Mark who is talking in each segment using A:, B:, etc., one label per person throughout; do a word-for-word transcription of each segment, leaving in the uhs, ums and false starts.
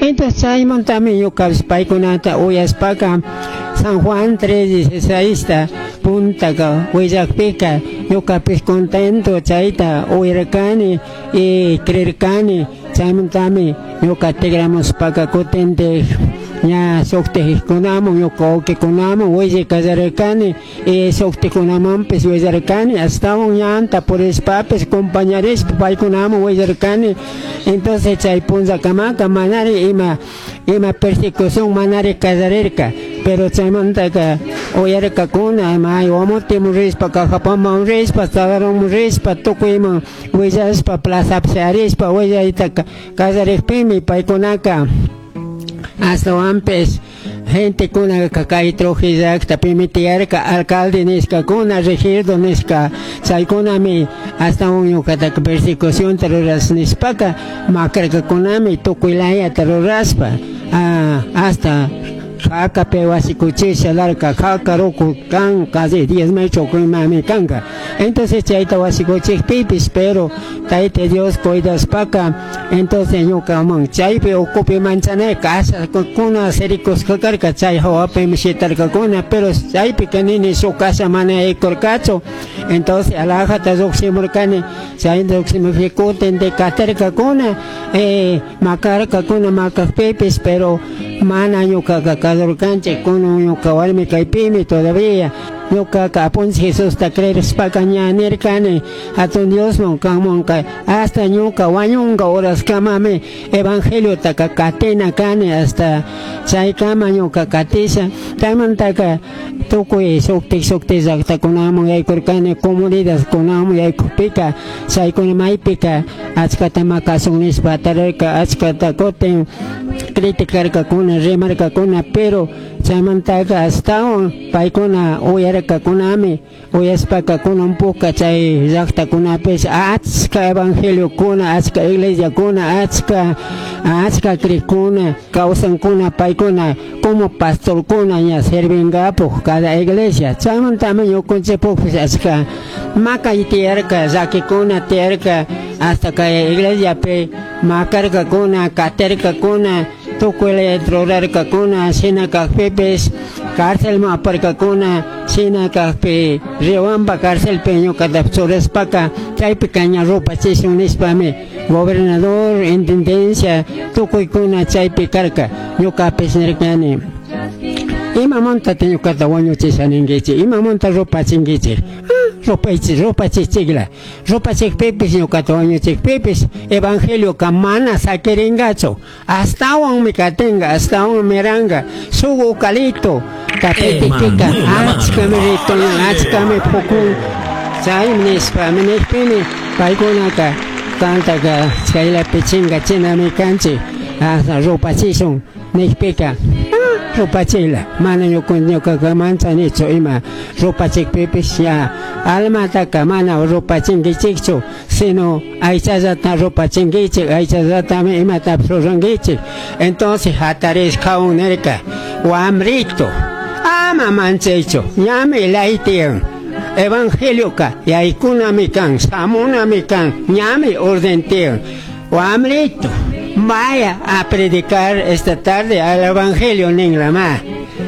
A: Entonces chaymantami ñukapish paykunata uyaspaka San Juan tres dieciséis puntaka willakpika ñukapish contento chayta uyarkani y creerkani. Chaymantami ñuka tigramushpaka kutintik ña shuktikkunaman ñuka wawkikunaman willay kallarirkani y shuktikkunamanpish willarkani, ashtawan ñanta purishpapish compañarishpa paykunaman willarkani. Entonces chay punllakamaka manari ima ima persecución manari kallarirka, pero chaymantaka uyarkakuna may Guamoteman rishpa, Cajapaman rishpa, Tzagarronman rishpa, tukuyman willashpa, plazapi sharishpa willaytaka kallarikpimi paykunaka ashtawanpish gentekunaka kay Trujillo llactapimi tiyarka alcalde nishkakuna, regidor nishka, chaykunami ashtawan ñukataka persecucionta rurash nishpaka makarkakunami tukuy layata rurashpa, ah, hasta jakapi wasikuchisha larka jaka ruku kan casi diez metros imami kanka. Entonces chayta wasikuchikpipish, pero Tayta Dios cuidashpaka, entonces ñukaman chaypi ukupi manchanay kasakuna sirikushka karka, chay hawapimi shitarkakuna, pero chaypika nini shuk kasha mana yaykurkachu. Entonces alajata llukshimurkani, chay llukshimukpi kutin katirkakuna, eh, makarkakuna, makakpipish, pero mana ñukaka kadurkanchik, kunan ñuka warmi kaypimi todavía. Ñukaka Apunchik Jesusta creerishpaka ña nirkani hatun Diosman kanmanka hasta ñuka wañunka horaskamami evangeliotaka katina kani, hasta chaykama ñuka katisha. Chaymantaka tukuy shuktik shuktik llaktakunaman yaykurkani, comunidadkunaman yaykukpika chaykuna maypika achkata makasun nishpa tarirka, achkata kutin criticarkakuna, rimarkakuna, pero chaymantaka ashtawan paykuna uyarkakunami, uyashpaka kunan puka chay llaktakunapish achka evangeliokuna, achka iglesiakuna, achka, achka crikuna kawsankuna, paykuna como pastorkuna ña servingapuj cada iglesia. Chaymantami ñukanchikpukpish achka makay tiyarka, llakikuna tiyarka, hasta kay iglesiapi makarkakuna, katirkakuna, tukuy rurarkakuna, shina kakpipish cárcelman aparkakuna, shina kakpi Riobamba cárcelpi ñukata churashpaka chaypika ña rupachishun nishpami gobernador, intendencia, tukuykuna chaypi karka. Ñukapish nirkani, imamantata ñukata wañuchisha ninkichik, imamanta rupachinkichik? Rupaychik, rupachichikla, rupachikpipish ñukata wañuchikpipish evangelioka mana sakirinkachu, ashtawanmi katinka, ashtawanmi miranka. Shuk ukalito tapitikpika achkami ritunan, achkami pukun. Chaymi nishpami nikpimi paykunaka tantaka chaylapi chinkachinami kanchik, hasta rupachishun nikpika rupachila, mana ñukaka manchanichu ima rupachikpipish ña almataka mana rupachinkichikchu, sino aychallata rupachinkichik, aychallatami imatapish rurankichik. Entonces hatarish kawun nirka, wamrito, ama manchaychu, ñami lay tiyan, evangelioka yaykunami kan, shamunami kan, ñami orden tiyan, wamrito, vaya a predicar esta tarde al evangelio ninlama.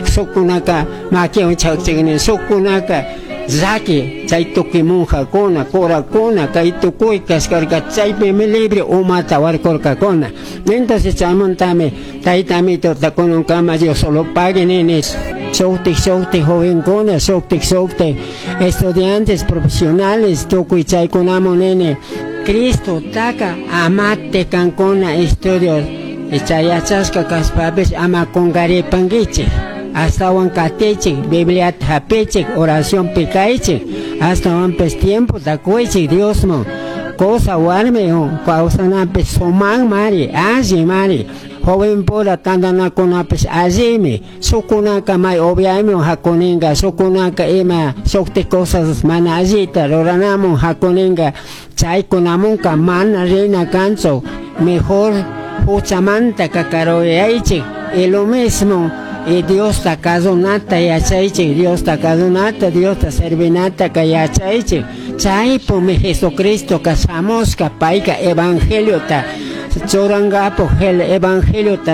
A: Sukunaka makiwan chakchikni, sukunaka llaki chay tukuy monjakuna, curakuna, kay tukuy kashkarka, chaypimi libre umata warkurkakuna. Entonces chaymantami tayta Amitota kunankama Dios solo pague nini. Shuktik shuktik jovenkuna, shuktik shuktik estudiantes profesionales tukuy chaykunaman nini, Cristo taka amate kankuna estudios chay yachashka kashpapish ama kunkaripankichik, ashtawan katichik, Bibliata hapichik, oracionpi kaychik, ashtawanpish tiempota kuychik Diosman. Cosa warmi kawsanapish sumakmari, allimari. Joven pura tantanakunapish allimi, shukunaka may obiaymi hakuninka, shukunaka ima shuktik cosas mana allita ruranamun hakuninka, chaykunamunka mana rina kanchu, mejor huchamanta kakaruyaychik. Y lo mismo, y Diosta kasunata yachaychik, Diosta kasunata, Diosta servinata ka yachaychik. Chaypumi Jesucristo ka shamushka, payka evangeliota churankapuj, el evangeliota